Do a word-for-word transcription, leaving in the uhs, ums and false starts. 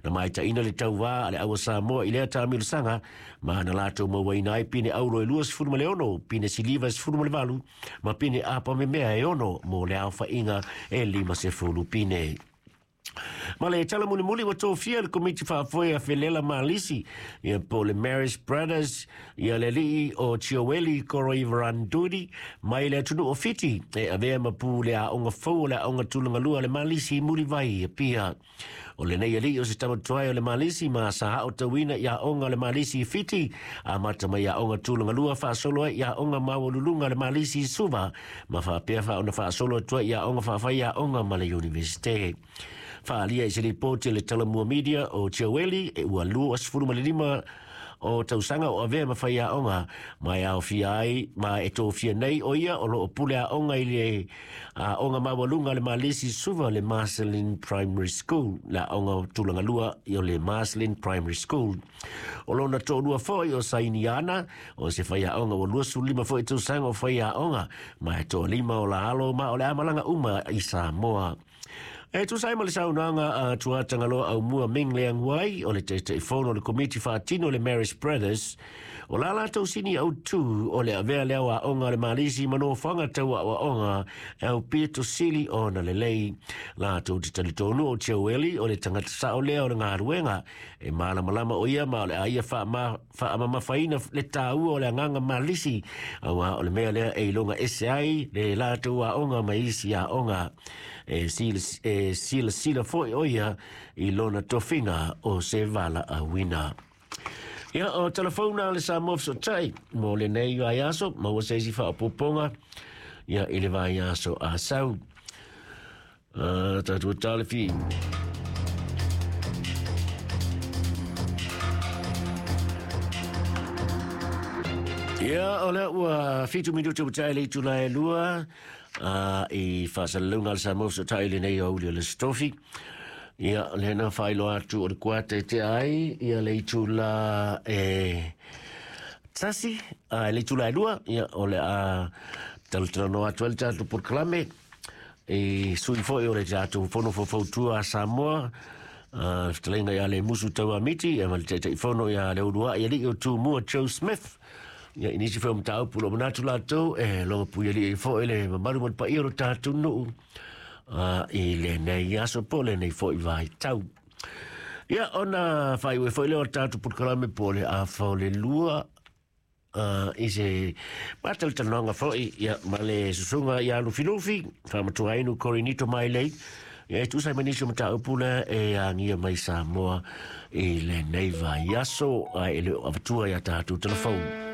Na maitaina le tauvā a le aua Samoa i lea taamilosaga ma na latou mauaina ai pine auro e luasefulu ma le ono, pine siliva e sefulu ma le valu ma pine apamemea e ono mo le aofaiga e limasefulu pine. Ma le tala mulimuli ua tofia le komiti faafoe a Felela Malisi ia po le Marist Brothers ia le alii o Tioeli Koroivarandudi mai le atunuu o Fiti e avea ma pu le aoga fou o le aoga tulagalua le Malisi i Mulivai Apia. O lenei alii o se tamatuai o le Malisi ma sa aotauina i aoga o le Malisi i Fiti amata mai aoga tulagalua faasolo ai i aoga maualuluga le Malisi i Suva ma faapea faaona faasolo atu ai i aoga faafai aoga ma le Iunivesite. Faalia i se lipoti le Talamua Media o Tioeli e ua luasefulu ma le lima o tausaga o avea ma fai aoga ma e aofia ai ma e tofia nei o ia o loo pule aoga i le aoga maualuga le Malisi Suva le Marcelin Primary School, le aoga tulagalua i o le Marcelin Primary School. O lona toalua foi o Sainiana o se fai aoga ua luasefulu lima foi tausaga o fai aoga ma e toalima o la alo ma o le amalaga uma i Samoa. E tusa ai ma le saunoaga a Tuatagaloa Aumua Ming Leang Wai o le Taitaifono o le Komiti Faatino le Marist Brothers o la latou sini autū o le avea lea o aoga o le Malisi ma nofoaga tau aoaoga e aupito sili ona lelei. Latou te talitonu o Tioeli o le tagata sao lea o le galuega e malamalama o ia ma o le a ia faamamafaina le taua o le agaga Malisi auā o le mea lea e iloga ese ai le latou aoga ma isi aoga. E e silasila foi o ia i lona tofiga o se valaauina. Ia o telefona le Samoa Fesootai mo lenei vaiaso maua se isi faaopoopoga ia i le vaiaso a sau. Uh, tatou talefi. Ia o lea ua fitu minutu ua tae le itula e lua uh, i faasalalauga a le Samoa Fesootai lenei aoauli o le Aso Tofi. Ia lena faailoa atu o le kuata e tea ai ia le itula e tasi a le itula e lua ia o le a talatalanoa atu ai le tatou polokalame e sui foi o le tatou fono faufautua a Samoa uh, fetalaiga ia le Musu Tauamiti ia ma le Taitaifono ia le Uluai alii o Tumua Joe Smith. Ia i nisi foi o mataupu o lo manatu latou e loga puialii ai foi le mamalu ma le paia o lo tatou nuu uh, i lenei aso po o lenei foi vaitau. Ia ona faaiu ai foi lea o le tatou polokalame po o le afa o le lua uh, i se matalatalanoaga foi ia ma le susuga ia Lufilufi faamatuainu Korinito Mailei ia e tusa ai ma nisi o mataupu lea e agia mai Samoa i lenei vaiaso ae e le o avatua ia tatou telefoni.